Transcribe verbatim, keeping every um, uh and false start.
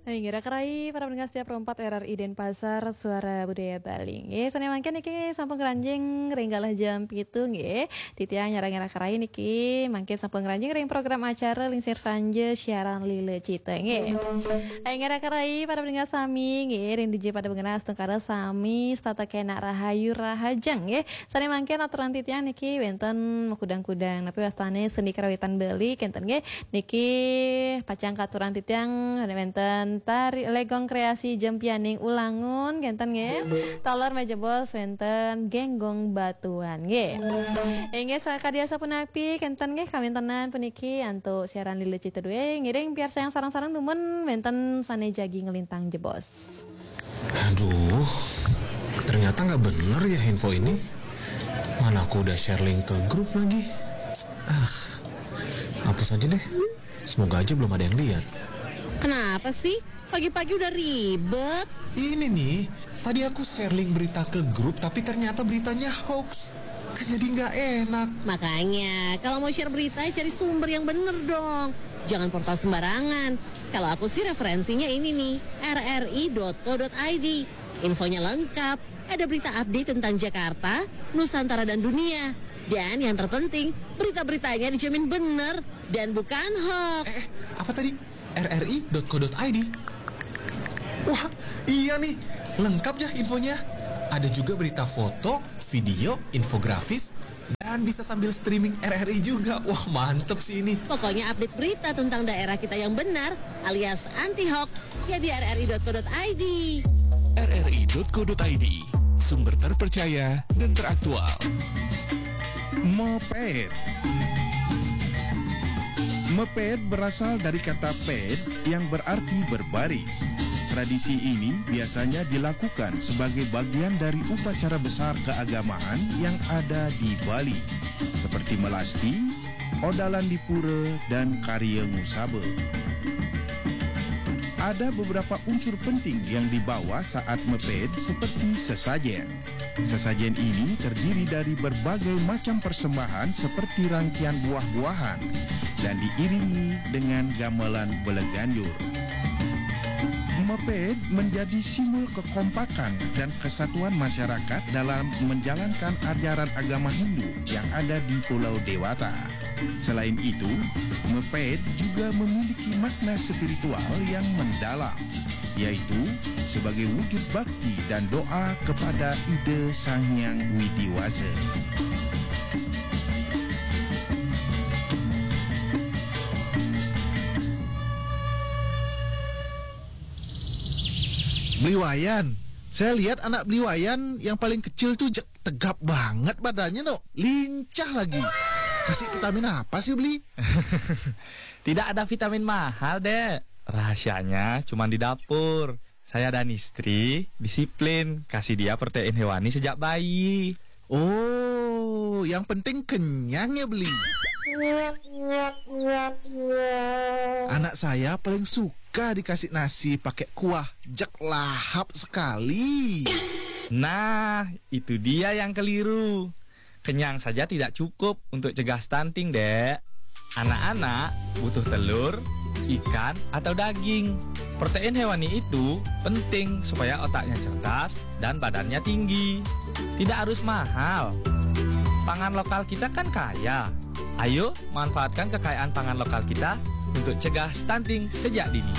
Hai, ngira kerai para pendengar setia Pro empat R R I Denpasar, Suara Budaya Bali. Nggih, sané mangkin niki sampun keranjing ring galah jam pitu nggih. Titiang nyarengin kerai niki mangkin sampun keranjing ring program acara Lingsir Sanja siaran Lila Cita nggih. Hai, ngira kerai para pendengar sami nggih, ring dija pada bengenas tungkara sami setata kenak rahayu rahajeng nggih. Sané mangkin aturan titiang niki wénten makudang-kudang napi wastané seni karawitan Bali kénten nggih. Niki pacang katurang titiang wénten tari legong kreasi Jempianing Ulangun kénten nggih. Taler majebos wénten Genggong Batuan nggih. Inggih sakadi asapunapi kénten nggih kawéntenan puniki antuk siaran Lila Cita dué ngiring piarsayang sareng-sareng dumun wénten sané jagi nglintang jebos. Aduh, ternyata nggak bener ya info ini. Mana aku udah share link ke grup lagi. Ah, hapus aja deh. Semoga aja belum ada yang lihat. Kenapa sih? Pagi-pagi udah ribet. Ini nih, tadi aku share link berita ke grup tapi ternyata beritanya hoax. Kan jadi nggak enak. Makanya, kalau mau share berita, cari sumber yang bener dong. Jangan portal sembarangan. Kalau aku sih referensinya ini nih, rri.co.id. Infonya lengkap, ada berita update tentang Jakarta, Nusantara dan dunia. Dan yang terpenting, berita-beritanya dijamin bener dan bukan hoax. Eh, apa tadi? rri.co.id. Wah, iya nih, lengkap ya infonya. Ada juga berita foto, video, infografis, dan bisa sambil streaming R R I juga. Wah, mantep sih ini. Pokoknya update berita tentang daerah kita yang benar alias anti hoax ya di rri.co.id. rri.co.id, sumber terpercaya dan teraktual. Mepet. Mepet berasal dari kata pet yang berarti berbaris. Tradisi ini biasanya dilakukan sebagai bagian dari upacara besar keagamaan yang ada di Bali, seperti melasti, odalan di pura, dan karya ngusaba. Ada beberapa unsur penting yang dibawa saat mepet seperti sesajen. Sesajen ini terdiri dari berbagai macam persembahan seperti rangkian buah-buahan dan diiringi dengan gamelan belegandur. Mepet menjadi simbol kekompakan dan kesatuan masyarakat dalam menjalankan ajaran agama Hindu yang ada di Pulau Dewata. Selain itu, mepet juga memiliki makna spiritual yang mendalam, yaitu sebagai wujud bakti dan doa kepada Ida Sang Hyang Widi Wasa. Beli Wayan. Saya lihat anak Beli Wayan yang paling kecil tuh je- tegap banget badannya, no. Lincah lagi. Kasih vitamin apa sih, Beli? Tidak ada vitamin mahal, Dek. Rahasianya cuma di dapur. Saya dan istri disiplin kasih dia protein hewani sejak bayi. Oh, yang penting kenyang ya, Beli. Anak saya paling suka dikasih nasi pakai kuah, jek lahap sekali. Nah, itu dia yang keliru. Kenyang saja tidak cukup untuk cegah stunting, Dek. Anak-anak butuh telur, ikan, atau daging. Protein hewani itu penting supaya otaknya cerdas dan badannya tinggi. Tidak harus mahal. Pangan lokal kita kan kaya. Ayo, manfaatkan kekayaan pangan lokal kita untuk cegah stunting sejak dini.